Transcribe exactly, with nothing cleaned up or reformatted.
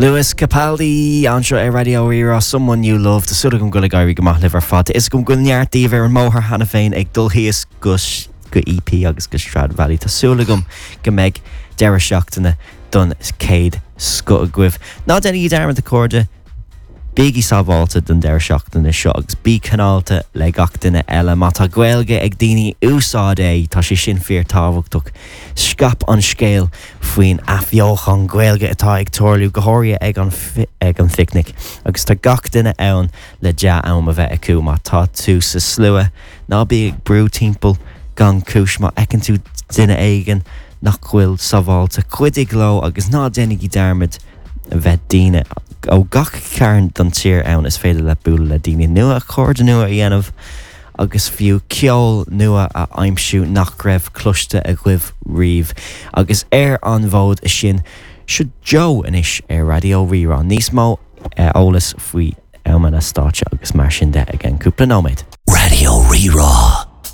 Lewis Capaldi anseo ar Raidió Rí-Rá Someone You Love Tá súil agam go bhfuil ag éirí go maith libh ar fad. Is go bhfuil neart daoibh ar an mbóthar cheana féin ag dul thíos go go EP agus go Stradivali Tá súil agam go mbeidh deireadh seachtaine don céad scoth agaibh. Ná déanaigí dearmad a chairde, Bígí sábháilte don deireadh seachtaine seo agus bí cineálta le gach duine eile má tá Gaeilge ag daoine úsáid é tá sé sin fíorthábhachtach. Scaip an scéal faoin athbheochan Gaeilge atá ag tarlú go háirithe ag an ag an phicnic agus tá gach duine ann le dea-am a bheith acu má tá tú sa slua ná bí ag brú timpeall gan chúis má fheiceann tú duine éigin nach bhfuil sábháilte cuidigh leo agus ná déanaigí dearmad a bheith daoine ó gach cearn den tír ann is féidir le bualadh le daoine nua cairde nua a dhéanamh agus fiú ceol nua a aimsiú nach raibh cloiste agaibh riamh agus ar an bhfód sin seo Joe anois ar Raidió Rí-Rá níos mó eolas faoi amanna stáitse agus mar sin de i gceann cúpla nóiméad. Raidió Rí-Rá.